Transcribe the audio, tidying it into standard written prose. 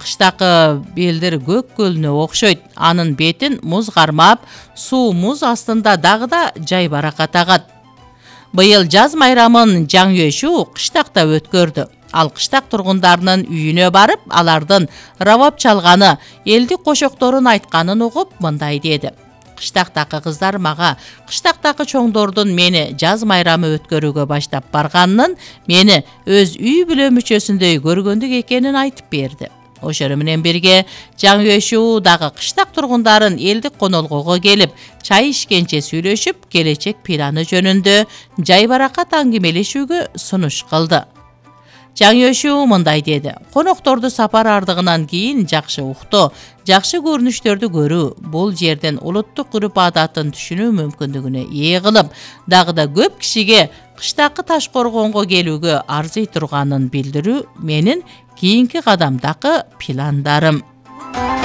кыштакы белдер көк көлүнө окшойт. Анын бетин муз кармап, суу муз астында дагы да жайбаракат агат. Быйыл жаз майрамын Жаңөшүү кыштакта өткөрдү. Ал кыштак тургундарынын үйүнө барып, алардын рабап чалганы, элдик кошокторун айтканын угуп, мындай деди: кыштактагы кыздар мага кыштактагы чоңдордун мени жаз майрамы өткөрүүгө баштап барганын, мени өз үй бүлө мүчөсүндөй көргөндүк экенин айтып берди. Ошону менен бирге Жаңөшүү дагы кыштак тургундарын элдик конолгого келип, чай ичкенче сүйлөшүп, келечек планы жөнүндө жайбаракат аңгемелешүүгө сунуш кылды. Жаңөшүү мындай деди: конокторду сапар ардыгынан кийин жакшы уктоо, жакшы көрүнүштөрдү көрүү, бул жердин улуттук үрп-адатын түшүнүү мүмкүндүгүнө ээ кылып, дагы да көп кишиге кыштакы Таш Коргонго келүүгө арзый турганын билдирүү менин кийинки кадамдагы пландарым.